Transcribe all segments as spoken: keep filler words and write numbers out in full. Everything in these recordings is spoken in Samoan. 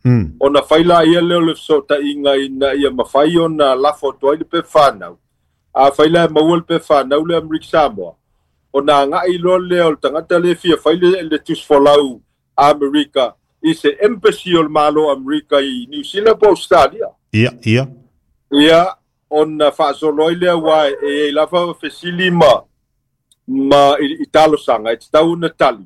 Mm. Ona faila ia lea o le fesootaiga ina ia mafai ona lafo atu ai le pepa fanau. A faila e maua le pepa fanau le Amerika Samoa, ona agai loa lea o le tagata lea e fia fai le, le tusifolau Amerika i se embassy o le Malo Amerika i New Zealand po Australia. Ia, ia. Ia, ona faasolo ai lea ua e i ai lava fesili ma ma i, i talosaga e tatau ona tali.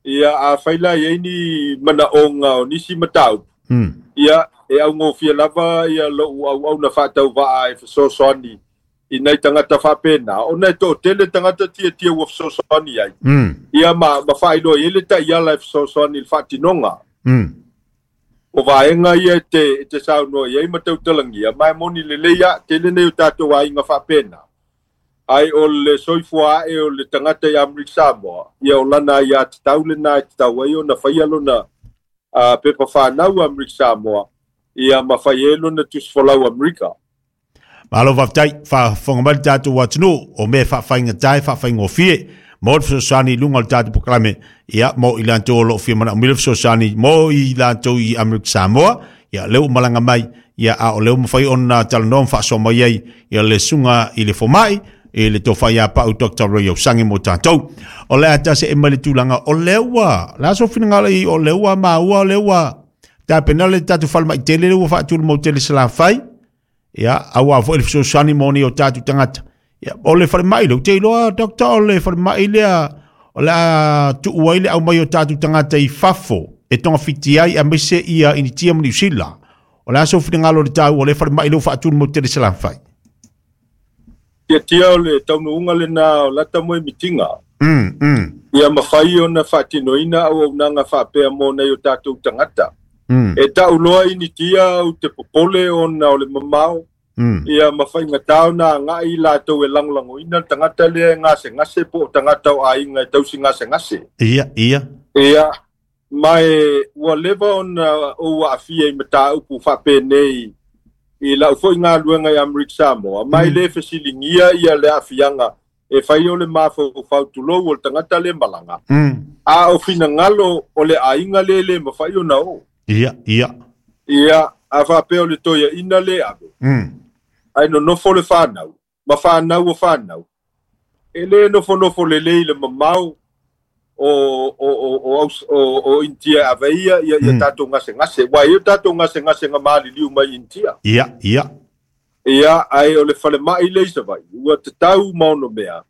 Ia, a fai la i ai ni manaoga o nisi mataupu. Mm. Ia, e augofie lava ia lou auauna faatauvaa e fesoasoani i nai tagata faapena, ona e toatele tagata tiatia ua fesoasoani ai. Mm. Ia, ma, ma faailoa i ai le taiala e fesoasoani i le faatinoga. Mm. O vaega ia e te, e te saunoa i ai ma tautalagia, ma e moni lelei a tele nei o tatou aiga faapena. Ai o le soifua ae o le tagata i Amerika Samoa, ia o lana aiā tatau lena e tatau ai ona faia lona uh, pepa fanau Amerika Samoa, ia ma fai ai lona tusifolau Amerika. Malo faafetai, faafofoga mai le tatou atunuu o mea faafaigata e faafaigofie mo le fesoasoani i luga o le tatou polokalame, ia mo i latou o loo fia manaomia le fesoasoani mo i latou i Amerika Samoa. Ia lea ua malaga mai, ia a o lea ua mafai ona talanoa ma faasoa mai ai ia le susuga i le fomai i le tofa ia Pau Doctor Ray Osangi mo tatou. O le a tase e mai le tulaga o lea ua le aso finagalo i o lea ua maua o lea ua tapena le tatou falemai tele lea ua faatulumau tele Salafai. Ia, aua foi le fesoasoani mo ni o tatou tagata. Ia, o le falemai lea, ou te iloa, Doctor, o le falemai lea, o le a tuu ai le aumai o tatou tagata i fafo, e togafiti ai aemaise ia Initia ma Niu Sila. O le a sou finagalo i le taua o le falemai lea ua faatulumau tele Salafai? Tiatia o le taunuuga lena o lata mo e mitiga. Mm, mm. Ia mafai ona faatinoina auaunaga faapea mo nai o tatou tagata. Mm. E tauloa Initia ou te popole ona o le mamao. Mm. Ia mafaigata ona agai latou e lagolagoina le tagata lea e gasegase po o tagata o aiga e tausi gasegase. Ia, ia. Ia, ma e ua leva ona ou aafia i mataupu faapenei i lau foi galuega i Amerika Samoa, ma e Mm. lē fesiligia ia le aafiaga e fai o le mafaufau tulou o le tagata le malaga. Mm. A o finagalo o le aiga lē lē mafai ona o. Ia, ia. Ia, a faapea o le toeaina lē ave. Mm. Ai nonofo le fanau, ma fanau o fanau. E lē nofonofo lelei le mamao o o o o o, o Initia ave ia ia, ia Mm. tatou gasegase. Ua ia tatou gasegase ga maliliu mai Initia. Ia, ia. Ia, ai o le falemai le i Savaii, ua tatau ma ono mea.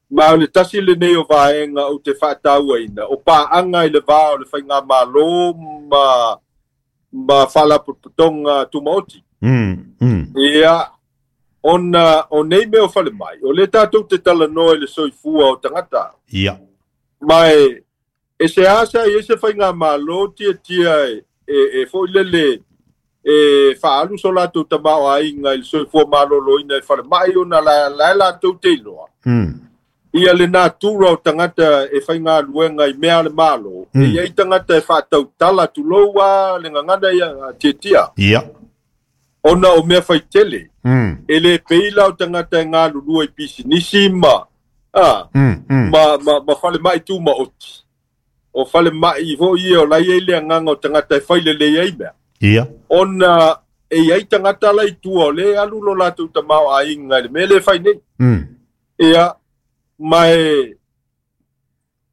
Ma o le tasi lenei o vaega ou te faatauaina, o paaga i le va o le faigamalo ma ma faalapotopotoga tumaoti. Mm, mm. Ia, ona o nei mea o falemai, o le tatou te talanoa i le soifua o tagata. Ia. Ma e, e se asa i e se faigamalo tiatia e, e, e foi lele e faalu so latou tamaoaiga i le soifua malōlōina e falemai ona la la latou te iloa. Mm. Ia le natura o tagata e faigaluega i mea a le malo, Mm. e iai tagata e faatautala tulou a le gagana ia tiatia. Ia. Ona o mea faitele. Mm. E le pei la o tagata e galulua i pisinisi ma, ah, Mm, mm. ma, ma, ma falemai tumaoti. O falemai foi ia o lai ai le agaga o tagata e failelei ai mea. Ia. Ona e iai tagata la i tua o lē alu lo latou tamaoaiga i le mea lē fai nei. Mm. Ia, ma e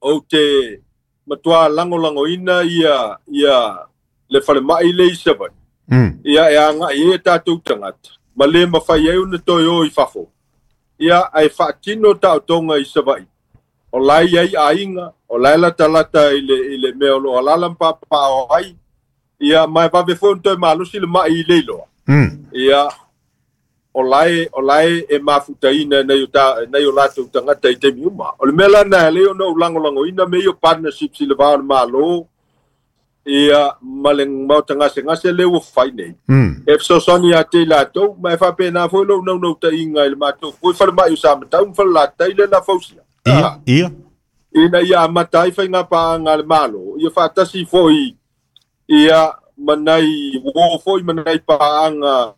ou te matuā lagolagoina ia, ia le falemai le i Savaii. Mm. Ia e agai ai e tatou tagata, ma lē mafai ai ona toe o i fafo. Ia, ae faatino taotoga i Savaii. O la e i ai aiga, o la e latalata i le, i le mea o loo alaala ma papaaao ai. Ia, ma e vave foi ona toe malosi le mai i le iloa. Mm. Ia, o la e, o la e e mafutaina e nai o ta, nai o latou tagata i taimi uma. O le mea lana e lea ona ou lagolagoina mea ia o partnerships i le va o le Malo, ia, ma le maota gasegase lea ua fai nei. Mm. E fesoasoani ia te i latou, ma e faapena foi lou naunautaiga i le matou foi falemai o Samatau ma Falelatai le la fausia. Ia, Ah, ia. ina ia amata ai faigapaaga a le Malo, ia faatasi foi ia ma nai uō foi ma nai paaga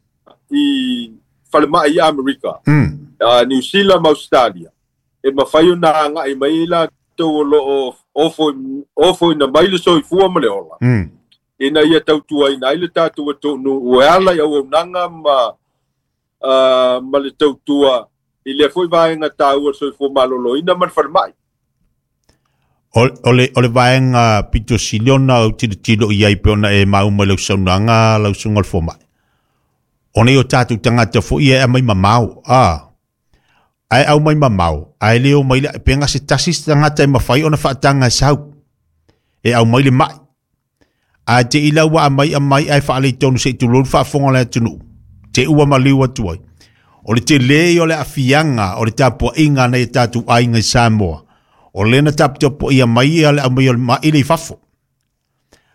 i falemai i Amerika, Mm. uh, New Zealand ma Australia. E mafai ona agai mai ai latou o loo ofo, ofoina mai le soifua ma le ola. Mm. Ina ia tautuaina ai le tatou atunuu e ala i auaunaga ma uh, ma le tautua i lea foi vaega taua o le soifua malōlōina ma le falemai. O le, o le vaega pito siliona o tilotilo i ai pe ona e mauma i lau saunoaga lau susuga o le fomai. Ona i o tatou tagata foi e aumai mamao, a ae aumai mamao, ae le o mai le pega se tasi se tagata e mafai ona faataga e sau, e aumai le mai. Ae te i lau ua aumai aumai ae faaleitonu se i tulou le faafofoga o le atunuu, te ua maliu atu ai. O le tele o le aafiaga o le tapuaiga nai o tatou aiga i Samoa, o lea na taputapuaia mai ia le aumai o le mai le i fafo.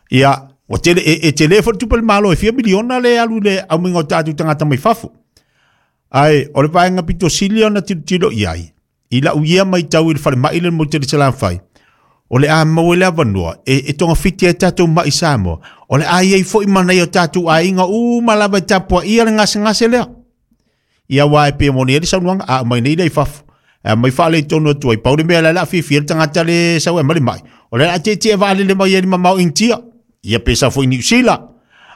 Ia, ua tele, e, e tele foi le tupe a le Malo e fia miliona le alu i le aumaiga o tatou tagata mai fafo. Ae, o le vaega pito sili ona tilotilo i ai, i lau ia matau i le falemai le motu i le Salafai, o le a maua le avanoa e, e togafiti ai tatou mai i Samoa, o le a iai foi ma nai o tatou aiga uma lava e tapuaia le gasegase lea. Ia aua e pei moni ai le saunoaga, a aumai nei lea i fafo, e aumai faaleitonu atu ai, pau le mea lea o le a fiafia le tagata le sau e aumai le mai, o le a tietie vaalele mai ai le mamao Initia, ia pe sau foi i Niu Sila.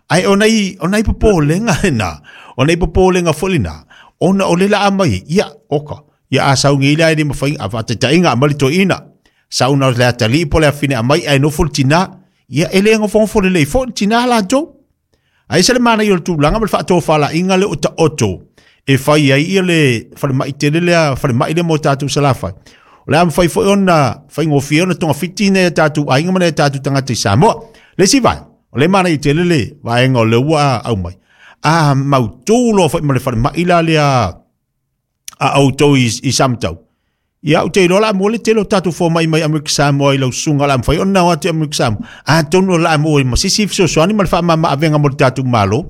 Ae o nai, o nai popolega lena, o nai popolega foi lena, ona o le la aumai, ia, oka, ia a sau nei lea e le mafai, a faataitaiga aumai le toeaina, sau na o le atalii po o le afine aumai ae nofo le tina, ia e le gofogofo lelei foi le tina latou. Ae ese le manaia o le tulaga ma le faatofalaiga lea o taoto e fai ai ia le falemai tele lea, falemai lea mo tatou Salafai. O le a mafai foi ona faigofie ona togafiti nai o tatou aiga ma nai o tatou tagata i Samoa. Le isi vaega, o le manaia tele le vaega o lea ua aumai, a mautū loa foi ma le falemai la lea a outou i, i Samatau. Ia, ou te iloa la mo le tele o tatou fomai mai Amerika Samoa i lau susuga o le a mafai ona o atu i Amerika Samoa. Atonu o le a maua ai ma se isi fesoasoani ma le faamama-avega mo le tatou Malo.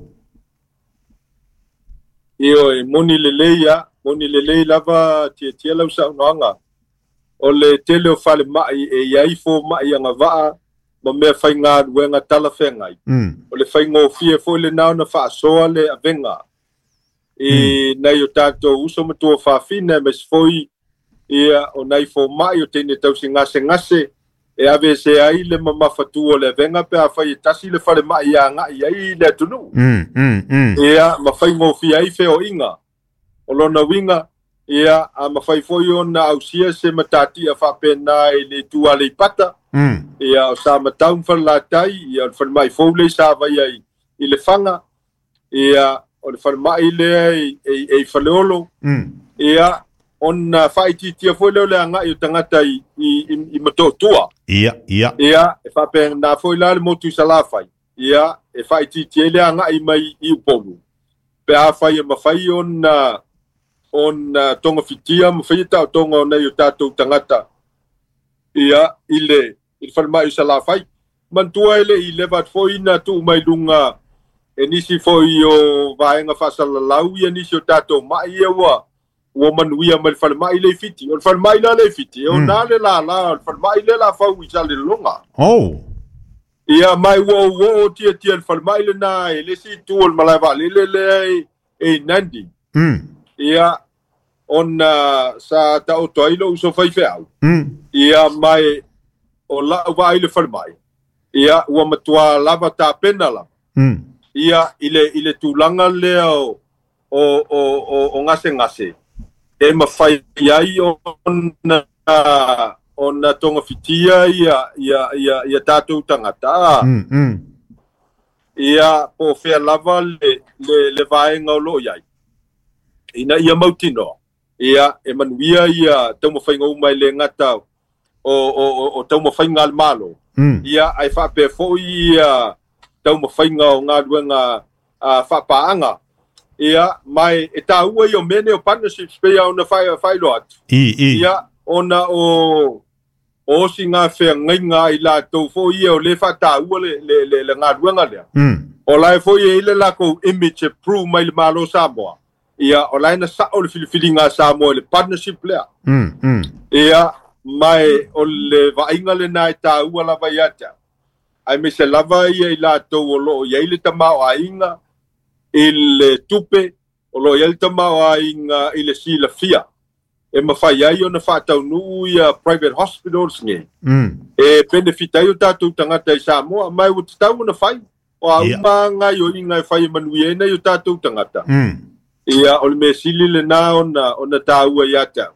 Ioe, moni lelei a, moni lelei lava tiatia lau saunoaga. O le tele o falemai e iai fomai agavaa ma mea faigaluega talafeagai. Mm. O le faigofie foi lena ona faasoa le avega i Mm. nai o tatou uso ma tuafafine aemaise foi ia o nai fomai o teine tausigasegase e ave se ai le mamafatu o le avega pe afai e tasi le falemai e agai ai le atunuu. Mm, mm, mm. Ia ma faigofie ai feoaiga. O lona uiga, ia a mafai foi ona ausia se matatia faapena i le itu Aleipata. Mm. Ia o Samatau ma Falelatai, ia o le falemai fou lea i Savaia i, i Lefaga, ia o le falemai lea i, i, i Faleolo. Mm. Ia ona faaitiitia foi lea o le agai o tagata i, i, i, i Motootua. Ia, ia. Ia, e faapena foi la le motu i Salafai. Ia, e faaitiitia ai le agai mai i Upolu. Pe afai e mafai ona ona togafitia ma faia taotoga o nai o tatou tagata ia i le i le falemai o Salafai. Manatua e le i leva atu foi na tuu mai luga e nisi foi o vaega faasalalau ia nisi o tatou mai ia ua ua manuia mai le falemai le i Fiti. O le falemai la le i Fiti, e ona le lala o le falemai le la fau i Salelologa. Oh. Ia mai ua ou oo tiatia le falemai lena e le isi itu o le malae vaalele lea e, e i Nandi. Mm. Ia, ona sa taoto ai lou uso faifeau. Mm. Ia mai o lau vaai le falemai. Ia, ua matua lava tapena lava. Mm. Ia, i le, i le tulaga lea o, o, o, o, o gasegase. E mafai ai ona, ona togafitia ia, ia, ia, ia tatou tagata. Mm, mm. Ia, po o fea lava le, le, le vaega o loo iai. Ina ia mautinoa. Ia, e manuia ia taumafaiga uma e le gata o, o, o, o taumafaiga a le Malo. Mm. Ia, ae faapea foi ia taumafaiga o galuega a, faapaaga. Ia, mai e taua ia o mea nei o partnerships pei ona faailoa atu. I, i. Ia, ona o o osi feagaiga ai latou foi ia o le faataua le, le, le, le galuega lea. Mm. O la e foi e i le lakou image e prove mai le Malo Samoa. Ia, o la e na sao le filifiliga a Samoa i le partnership lea. Mm, mm. Ia, mai o le vaaiga lena e taua lava ia te au. Aemaise lava ia i latou o loo iai le tamaoaiga i le tupe, o loo iai le tamaoaiga i le silafia. E mafai ai ona faataunuu ia private hospitals nei. Mm. E benefit ai o tatou tagata i Samoa, mai ua tatau ona fai. O a uma gaioiga e fai e manuia ai nai o tatou tagata. Mm. Ia o le mea sili lenā ona ona tāua iā te au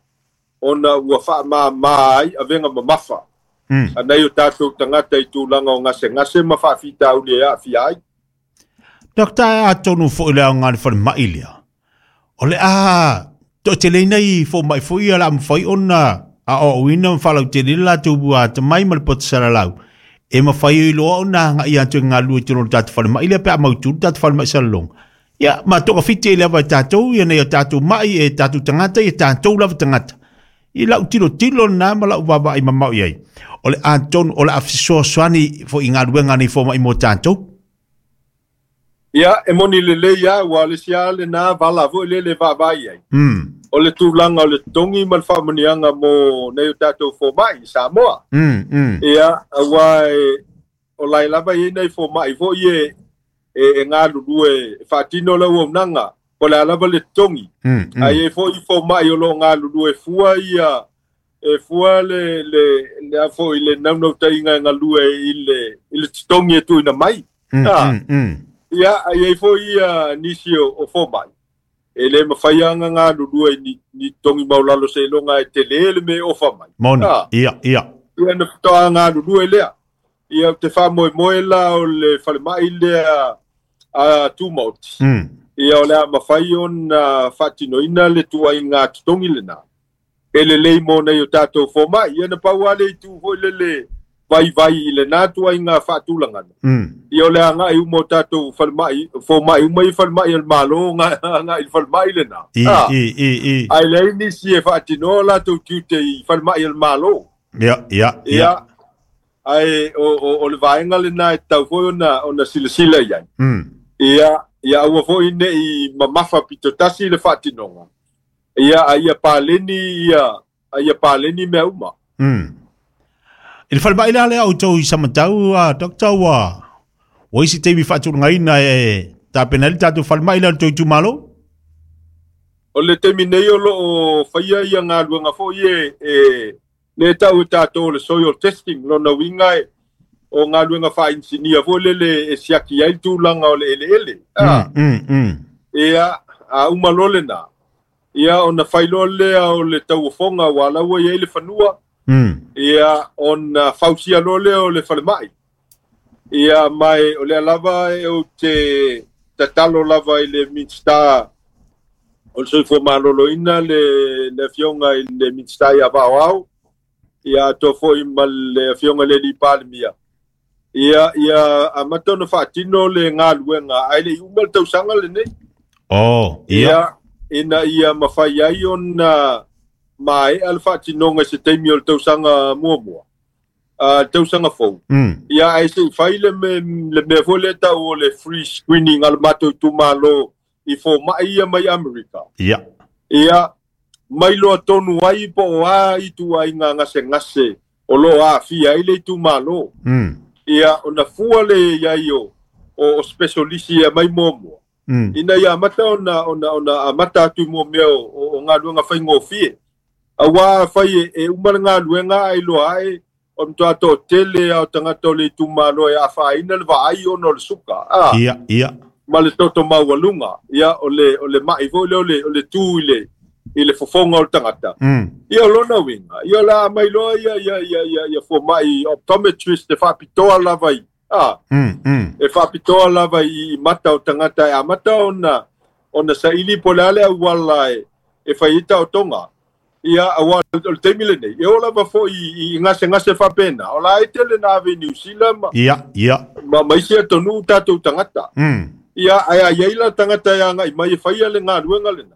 ona ua faamāmā ai avega mamafa Mm. a nai o tatou tagata i tulaga o gasegase ma faafitauli e aafia ai. Doctor, atonu fo'i le aoga le falemai lea. O le a to'ateleina i foma'i fo'i ia la mafai ona aoaoina ma faalautele le latou atamai ma le poto salalau. E mafai ai loa ona aga'i atu e galulue i totonu o le tatou falemai lea pe a mautu le tatou falemai salaloga. Ia, ma togafiti ai lava e tatou ia nei o tatou ma'i e tatou tagata ia tatou lava tagata. I lau tilotilo lena ma lau vaavaai mamao i ai. O le atonu o le a fesoasoani fo'i galuega nei foma'i mo tatou. Ia e moni lelei a ua le sia lenā vala fo'i le le vaavaai ai. Mm. O le tulaga o le totogi ma le faamanuiaga mo nei o tatou foma'i i Samoa. Mm, mm. Ia auā e o lae lava iai nai foma'i fo'i e e, e galulue e faatino le auaunaga po le a lava le totogi. Mm, mm. Ae iai fo'i foma'i o loo galulue fua ia e fua le le le a fo'i le naunautaiga e galue i le i le totogi e tuuina mai. Mm, Ah, mm, mm. Ia ai ai fo'i ia nisi o, o foma'i e lē mafai aga galulue ni, ni totogi maulalo seiloga e telē le me ofa mai. Moni. Ah, Ia, ia. Ia na faatoa galulue lea. Ia ou te faamoemoe la o le falemai lea a tumaoti. Mm. Ia o le a mafai ona faatinoina le tuaiga totogi lenā. E lelei mo nei o tatou foma'i. Ia na pau a le itu fo'i lele vaivai i lenā tuaiga faatulagana. Mm. Ia o le aga'i uma o tatou falemai foma'i uma i falemai o le Mālō aga'i i le falemai lenā. I, Ah, i, i, i. Ae leai nisi e faatinoa latou tiute i falemai o le Mālō. Ia, ia, ia. Ia ae o, o, o le vaega lenā e tatau foi ona ona silasila i ai. Mm. Ia ia aua fo'i ne'i mamafa pitotasi le faatinoga. Ia a ia paleni ia a ia paleni mea uma. Mm. I le falemai lea lea outou i Samatau, a Doctor, ua ua isi taimi faatulagaina e tapena ai le tatou falemai lea o le tou itumalo? O le taimi nei o loo faia ia galuega fo'i e e le tau e tatou o le soil testing lona uiga e o galuega faainisinia fo'i lele e siaki ai le tulaga o le eleele. Ah, Mm, mm, mm. Ia a uma loa lenā. Ia ona fai loa lea o le tauofoga ua laua iai le fanua. Mm. Ia ona fausia loa lea o le falemai. Ia mai o lea lava e ou te tatalo lava i le Minista o le Soifua Maloloina le le afioga i le Minista ia Vaoao. Ia atoa fo'i ma le afioga i le alii Palemia. Ia ia amata ona faatino le galuega ae le'i uma le tausaga lenei. Oh, ia. Ia ina ia mafai ai ona maea le faatinoga i se taimi o le tausaga muamua. A tausaga fou. Mm. Ia ae se'i fai le me le mea foi lea tau o le free screening a le matou itumalo i foma'i ia mai Amerika. Ia. Ia mai loa tonu ai po o a ituaiga gasegase o loo aafia ai le itumalo. Mm. Ia ona fua le iai o o, o specialisi e mai muamua. Mm. Ina ia amata ona ona ona amata atu i mua mea o, o, o galuega faigofie. Auā fai e, e uma le galuega ae loa ae o le matuā to'atele a o tagata o le itumalo e afaina le vaai ona o le suka. Ah, Ia, ia. ma le toto maualuga. Ia o le o le ma'i fo'i lea o le o le tu i le i le fofoga o le tagata. Mm. Ia o lona uiga. Ia o le a mai loa ia ia ia ia ia foma'i optometrist e faapitoa lava i ah, Mm, mm. e faapitoa lava i, i mata o tagata e amata ona ona saili po le a le auala e e fai ai taotoga. Ia auā o le taimi lenei e oo lava fo'i i, i gasegase faapena. O la e tele na ave i Niu Sila ma Ia, ia. ma, ma isi atunuu tatou tagata. Mm. Ia ae a iai la tagata e aga'i mai e faia le galuega lena.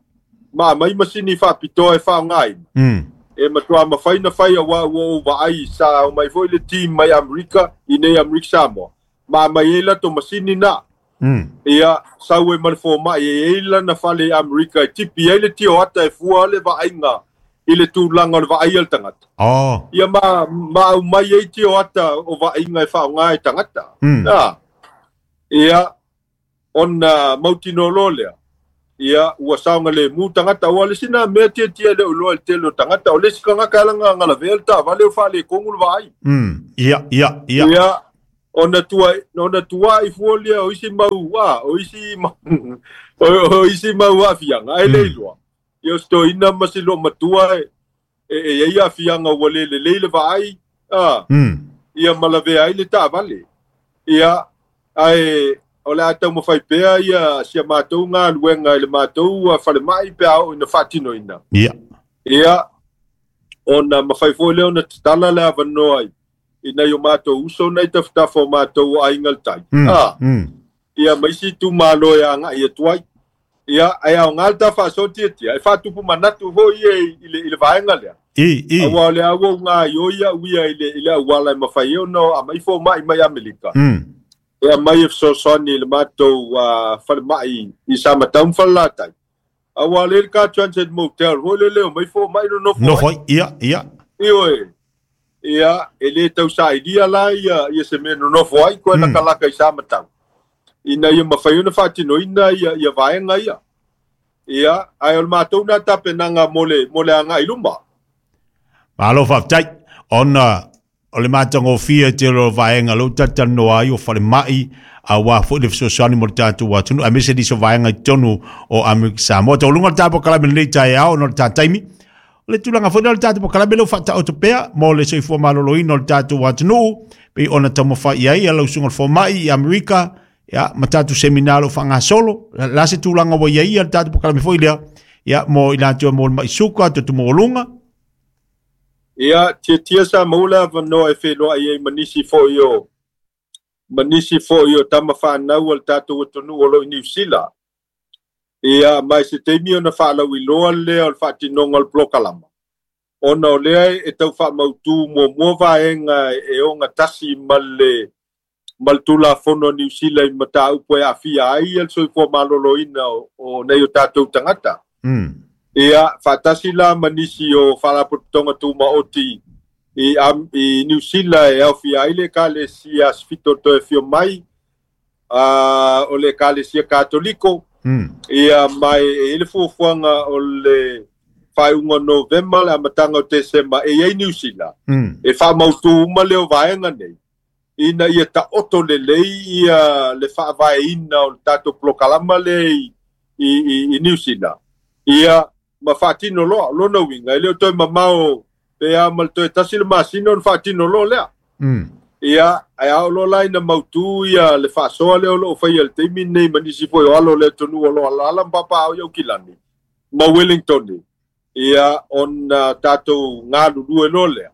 Ma aumai masini faapitoa e faaaogāina. Mm. E matuā mafai na fai auā ua ou vaai sa o mai fo'i le team mai Amerika i nei Amerika Samoa. Ma aumai ai latou masini na. Mm. Ia sau e ma le foma'i e ai lana fale i Amerika e tipi ai le tioata e fua le vaaiga i le tulaga o le vaai a le tagata. Oh. Ia ma ma aumai ai tioata o vaaiga e faaaogā e tagata. Mm. Ah, ia ona mautinoa loa lea. Ia ua saogalemu tagata ua le sina mea tiatia le uloa i le tele o tagata o le isi tagata e lagaga lavea le taavale o faaletonu le vaai. Mm. Ia, ia, ia. Ia Ona tua ona tua i fuolia o isi mau a o isi o isi mau afianga ai le iloa. Ia sto ina masilo matua e e ia afianga ua le lelei le vaai a ia malavea ai le taavale. Ia ae o le a taumafai pea ia si a matou galuega i le matou falemai pe a oo ina faatinoina. Ia. Ia ona mafai foi lea ona tatala le avanoa ai ina i o matou uso nei tafatafa o matou o aiga le tai. A ia ma isi itumalo e agai atu ai. Ia ae aoga le ta faasoa tiatia e faatupu manatu foi ia i le i le vaega lea. I i Auā o le a ua ugaioi a'u ia i le i le auala e mafai ai ona aumai foma'i mai Amerika. E aumai e fesoasoani i le matou falemai i Samatau ma Falelatai. Auā lea le ka Transit Motel foi lele o mai foma'i nonofo ai. Nofo ai, ia, ia. Ioe. Ia, e lē tausailia la ia ia se mea nonofo ai koe lakalaka i Samatau. Ina ia mafai ona faatinoina ia ia vaega ia. Ia, ae o le matou na tapenaga mo le mo le agai luma. Malo faafetai ona o le matagofie tele o vaega lou talatalanoa ai o falemai auā foi le fesoasoani mo le tatou atunuu aemaise nisi o vaega i totonu o Amerika Samoa. Taualuga le tatou polokalame lenei taeao ona o le ta taimi. O le tulaga foi lea o le tatou polokalame lea ua faataoto pea mo le soifua maloloina o le tatou atunuu pei ona taumafai i ai lau susuga i le fomai i Amerika ia ma tatou seminar o lo o faagasolo. La se tulaga ua i ai le tatou polokalame foi lea ia mo i latou e mo le mai suka toto maualuga. Ia, tiatia sa maua le avanoa e feloai ai ma nisi foi o ma nisi foi o tama fanau a le tatou atunuu o lo o i Niu Sila. Ia, ma i se taimi ona faalauiloa lea o le faatinoga o le polokalama. Ona o lea e tau faamautū muamua vaega e ogatasi ma le ma le Tulafono a Niu Sila i mataupu e aafia ai le soifua maloloina o, o nei o tatou tagata. Mm. Ia, faatasi la ma nisi o faalapotopotoga tumaoti i, am, i Niu Sila e aofia ai le Ekalesia Asifito toe afio mai, uh, o le Ekalesia Katoliko. Mm. Ia, ma e i ai le fuafuaga o le faaiuga o Novema le amataga o Tesema e i ai Niu Sila. Mm. E faamautū uma lea o vaega nei ina ia taoto lelei ia le faavaeina o le tatou polokalama lea i, i, i, i Niu Sila. Ia, ma faatino loa, lona uiga, e le o toe mamao pe a ma le toe tasi le masina ona faatino loa lea. Mm. Ia, ae a oo loa la ina mautū ia le faasoa lea o loo faia i le taimi lenei ma nisi foi o alo o le atunuu o lo o alaala ma papaao i Aukilani ma Wellington. Ia, ona tatou galulue loa lea.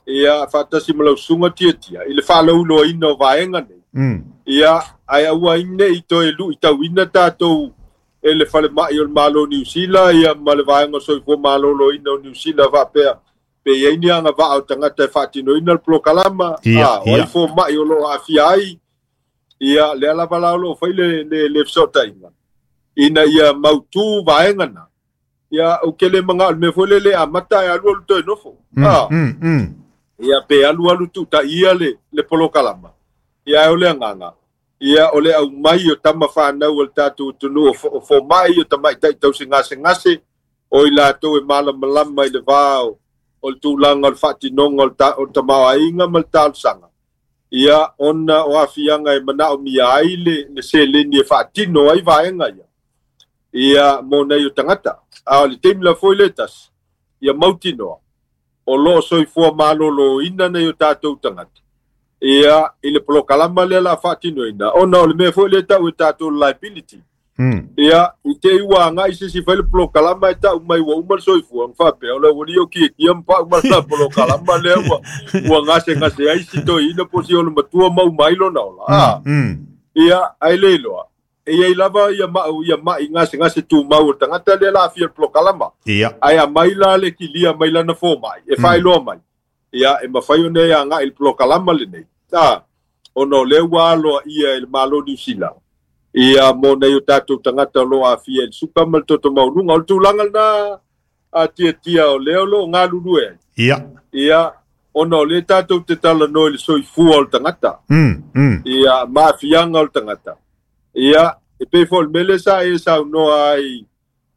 Ia, faatasi ma lau susuga tiatia i le faalauiloaina o vaega nei. Mm. Ia, ae aua ai nei toe luitauina tatou e le falemai o le Malo o Niu Sila ia ma le vaega o soifua maloloina o Niu Sila faapea pe i ai ni agavaa o tagata e faatinoina le polokalama, Ia, a, o ai ia. foma'i o loo aafia ai. Ia, lea lava la o loo fai le, le, le fesootaiga ina ia mautū vaega na. Ia, ou te le magao i le mea foi lele amata e alu alu toe nofo. Mm, A, mm, mm. ia, pe alu alu tuutaia le, le polokalama. Ia, ae o le agaga. Ia, o le aumai o tama fanau a le tatou atunuu o foma'i o tamaʻitaʻi tausigasegase o i latou e malamalama i le va o, o le tulaga o le faatinoga o le ta, o le tamaoaiga ma le talosaga. Ia, ona o aafiaga e manaomia ai le, le seleni e faatino ai vaega ia. Ia, mo nei o tagata. A o le taimi la foi le tasi, ia mautinoa, o loo soifua maloloina nei o tatou tagata. Ia, i le polokalama lea la faatinoina, ona o le mea foi lea tau e tatou liability. Mm. Ia, i te i ua agai se isi fai le polokalama e tau mai ua uma le soifua, ona faapea, o le aualii o kiakia ma pau ma le polokalama lea ua, ua gasegase ai si toeaina po o si ona matua ma uma ai lona ola. A, Mm. ia, ae le iloa. E iai lava ia mau ia mai gasegase tumau o le tagata lea la aafia i le polokalama. Ia. Ae aumai la le kilia mai lana fomai, e faailoa mai. Ia, e mafai ona e agai i le polokalama lenei. A, ona o lea ua aloaia e le Malo o Niu Sila. Ia, mo nei o tatou tagata o loo aafia i le suka ma le toto maualuga. O le tulaga lena a tiatia o lea o loo galulue ai. Ia. Ia, ona o lea tatou te talanoa i le soifua o le tagata. Mm, mm. Ia, ma aafiaga o le tagata. Ia, e pei foi o le mea lea sa e saunoa ai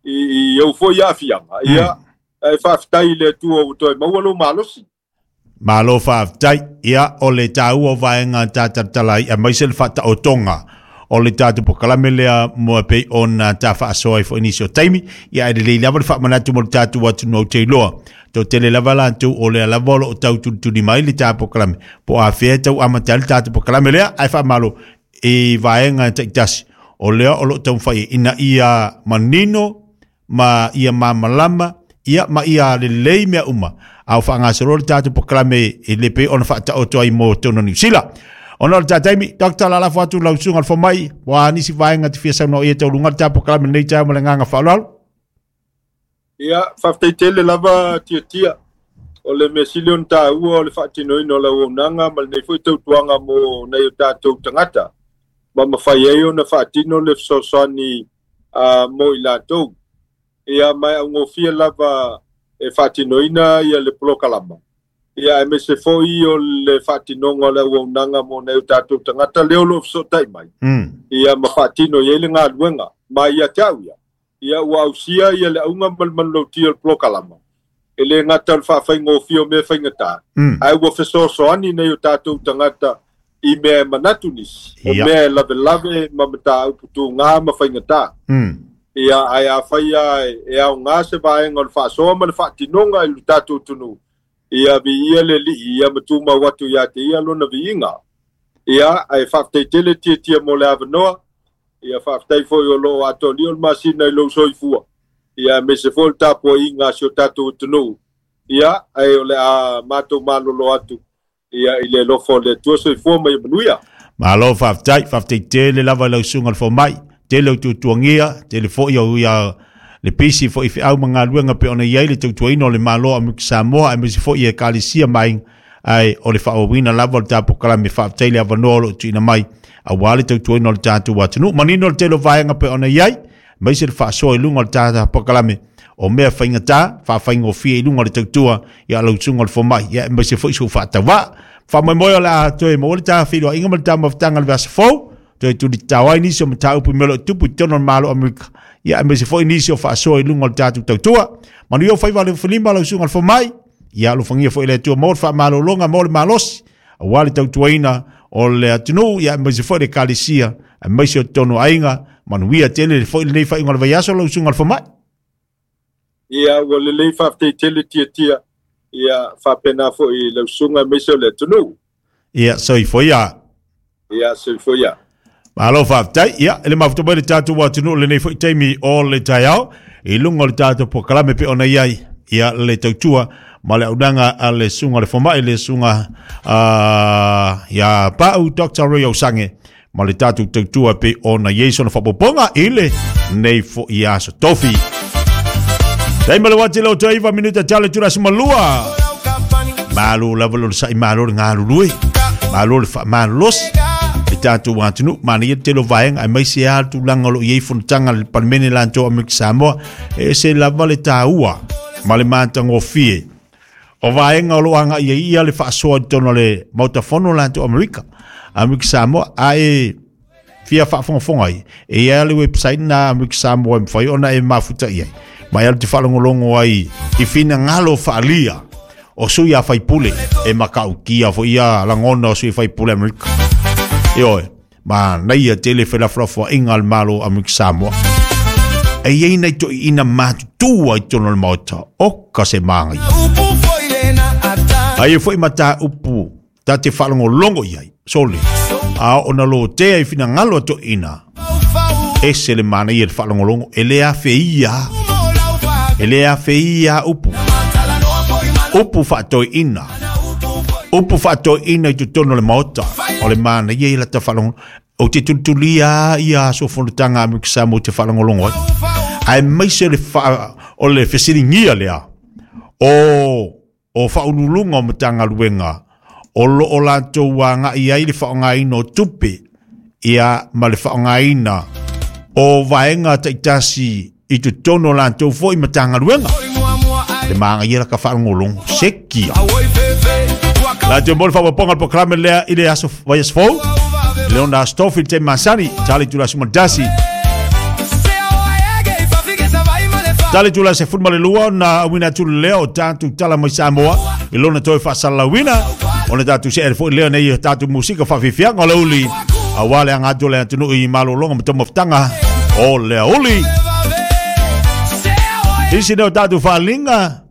i, i au foi aafiaga. Ia, ae faafetai i le Atua ua toe maua lou malosi. Malo faafetai. Ia o le taua o vaega tatalatala ai aemaise le faataotoga o le tatou polokalame lea mo pei ona tafaasoa ai foi nisi o taimi. Ia e lelei lava le faamanatu mo le tatou atunuu ou te iloa toatele lava latou o lea lava o loo tau tulituli mai le ta polokalame po o afea e tau amata ai le tatou polokalame lea ae faamalo i vaega taitasi o lea o loo taumafai ina ia manino ma ia mamalama ia ma ia lelei mea uma a o faagasolo le tatou polokalame e le pei ona faataoto ai mo totonu o Niu Sila. Ona o le tataimi, Doctor lalafo atu lau susuga o le fomai, ua nisi vaega te fia saunoa ia tauluga le tatou polokalame lenei taeao ma le agaga faaaloalo. Ia, faafetai tele lava tiatia. O le mea sili ona taua o le faatinoina o le auaunaga ma lenei foi tautuaga mo nai o tatou tagata. Ma mafai ai ona faatino le fesoasoani uh, mo i latou. Ia mai augofie lava e faatinoina ia le polokalama. Ia aemaise foi o le faatinoga o le auaunaga mo nai o tatou tagata lea o loo fesootai mai. Mm. Ia ma faatino i ai le galuega ma ia te au ia. Ia ua ausia ia le auga ma le manulautia o le polokalama. E le gata o le faafaigofie o mea faigata. Mm. Ae ua fesoasoani nai o tatou tagata i mea e manatu nisi. O Ia. mea e lavelave ma mataupu tugā ma faigata. Mm. Ia ae afai a e aogā se vaega o le faasoa ma le faatinoga i le tatou atunuu. Ia viia le alii ia ma tumau atu ia te ia lona viiga. Ia ae faafetai tele tiatia mo le avanoa. Ia faafetai foi o loo atoalia o le masina i lou soifua. Ia aemaise foi o le tapuaiga a si o tatou atunuu. Ia ae o le a matou malolo atu. Ia i le alofa o le Atua soifua ma ia manuia. Malo faafetai, faafetai tele lava i lau susuga o le fomai, tele o tuatuagia, tele foi o ia le pisi foi feau ma galuega pe ona i ai le tautuaina o le Malo o Amerika Samoa aemaise foi i Ekalesia ma aiga ae o le faaauauina lava o le tatou polokalame faafetai le avanoa o loo tuuina mai auā le tautuaina o le tatou atunuu. Manino le tele o vaega pe ona i ai aemaise le faasoa i luga o le tatou polokalame o mea faigata faafaigofie i luga o le tautua ia lau susuga o le fomai ia aemaise foi sou faatauvaa. Faamoemoe o le a toe maua le tafeiloaiga ma le taumafataga o le vaiaso fou toe tulitao ai nisi o mataupu i mea o loo tupu i totonu o le Malo o Amerika ia aemaise foi nisi o faasoa i luga o le tatou tautua. Manuia o faiva le filima lau susuga o le fomai ia alofagia foi le Atua mo le faamalologa mo le malosi auā le tautuaina o le atunuu ia aemaise foi le Ekalesia aemaise o totonu o aiga. Manuia tele foi lenei faaiuga o le vaiaso lau susuga o le fomai. Ia ua lelei faafetai tele tiatia. Ia faapena foi lau susuga aemaise o le atunuu. Ia soifua ia. Ia soifua ia. Malo faafetai. Ia e le mafuta mai le tatou atunuu lenei foi taimi o le taeao i luga o le tatou polokalame pe ona i ai ia le tautua ma le auaunaga a le susuga o le fomai le susuga uh, ia Pau Doctor Roy Ausange ma le tatou tautua pe ona i ai sona faaopoopoga i lenei foi aso tofi. Taimi le uati le otoiva minuta tale tula simalua. Malo lava lo le sa'i malo le galulue. Malo le faamalosi le tatou atunuu manaia le tele o vaega aemaise a le tulaga o loo i ai fonotaga le Palemene latou Amerika Samoa e ese lava le taua ma le matagofie o vaega o loo agai ai ia le faasoa i totonu o le Maota Fono latou Amerika Amerika Samoa ae fia faafogafoga ai e i ai le website na Amerika Samoa e mafai ona e mafuta i ai ma e alu te faalogologo ai i finagalo faalia o sui a faipule e makautia foi ia lagona o sui faipule Amerika. Ioe, manaia tele felafolafoaiga a le Malo o Amerika Samoa. E i ai nai toeaiina matutua i totonu o le maota o ka se magaia. Ai e foi mataupu ta te faalogologo i ai, sole, a ona lotea i finagalo a toeaiina. Ese le manaia le faalogologo, e le afeia, e le afeia upu. Upu faatoeaina, upu faatoeaina i totonu o le maota o le manaia i lata faalogologo. O te tulitulia ia aso fonotaga a Amerika Samoa te faalogologo ai. Aemaise le fa, o le fesiligia lea o o faauluuluga o Matagaluega o loo latou agai ai le faaaogaina o tupe ia ma le faaaogaina o vaega taitasi i totonu o latou foi Matagaluega. Le magaia la ka faalogologo sekia. Latou mo le faaopoopoga o le polokalame lea i le aso vaiaso fou. Le ona aso tofi le taimi masani, tale itula sumatasi. Tale itula sefulu ma le lua ona auina atu le lea o tatou tala mai Samoa. I lona toe faasalalauina ona tatou see foʻi lea nei tatou musika faafiafiaga o le uli auā le aga atu o le atunuu i malologa ma taumafataga o le auli. Isi lea o tatou faaliga